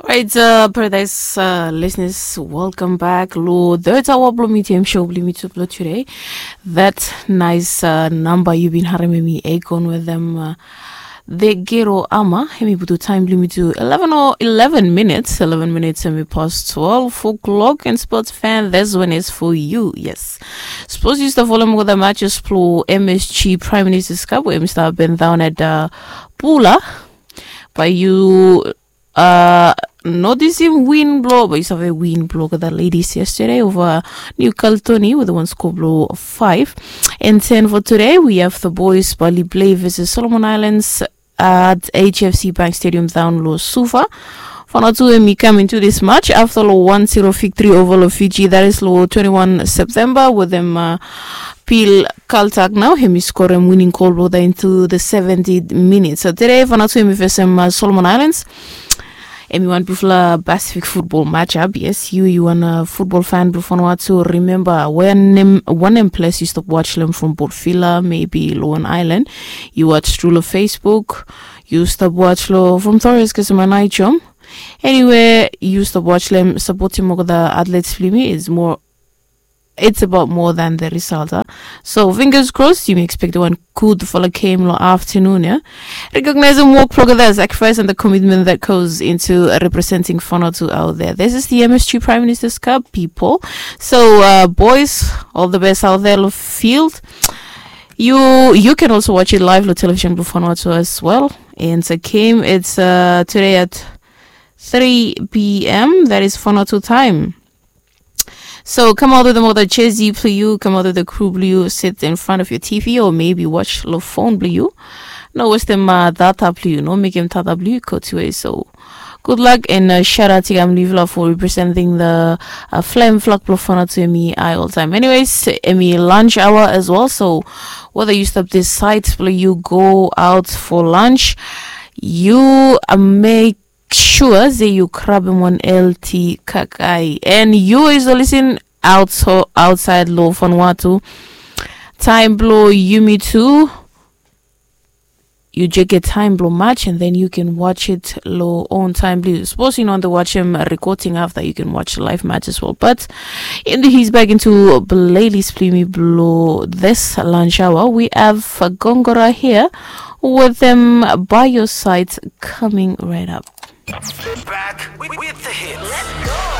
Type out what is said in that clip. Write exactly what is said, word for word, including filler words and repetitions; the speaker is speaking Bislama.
Right, uh, Paradise uh, listeners, welcome back. Lo third hour blo mi T M show blo mi tu blo today. That nice uh, number you been harem mi Akon with them. Uh, the Gero Ama, hemi butu time blo mi tu eleven or eleven minutes. Eleven minutes hemi past twelve o'clock and sports fan. This one is for you. Yes. Suppose you start following with the matches blo M S G Prime Minister's Cup where Mister Ben down at uh, Pula. But you uh, notisim win blo, but you save win blo the ladies yesterday over New Caledonia with one score blo five. And ten for today, we have the boys Bali play versus Solomon Islands at H F C Bank Stadium down lo Suva. Fanatu and me come into this match after lo one zero victory over lo Fiji. That is lo twenty-one September with them uh, Pil Kaltak now. Hemi score him winning goal blo into the seventy minutes. So today Fanatu hemi face him uh, Solomon Islands. Hemi wan bifala Pacific football matchup. Yes, you you wan a football fan blo Vanuatu. Remember when him one him place you stop watch them from Port Vila, maybe Loan Island. You watch through lo Facebook. You stop watch lo from Torres ke sama naichom. Anyway, you stop watch them support him the athletes blo mi is more it's about more than the result. Huh? So fingers crossed, you may expect one good for the game lo afternoon. Yeah, recognize and work for the sacrifice and the commitment that goes into representing Vanuatu out there. This is the M S G Prime Minister's Cup, people. So uh, boys, all the best out there lo field. You you can also watch it live lo television blo Vanuatu as well. And the game it's uh, today at three p.m. That is Vanuatu time. So come out with them with a jersey blo you, come out with a crew blo you, sit in front of your T V or maybe watch lo phone blo you. No waste them uh, data blo you, no make them data blo you cut away. So good luck and uh, shout out to Gamlivla for representing the uh, flame flag blo Vanuatu hemi I all time. Anyways, hemi lunch hour as well. So whether you stop this site blo you go out for lunch, you uh, make sure say you grab him on L T Kakai. And you is listening out so outside lo Vanuatu. Time blo yumi too. You just get time blo match and then you can watch it lo own time blo you. Suppose you know the watch him recording after you can watch live match as well. But in the he's back into playlist blo mi blo this lunch hour. We have Gongora here with them by your side coming right up. Back with, with the hits.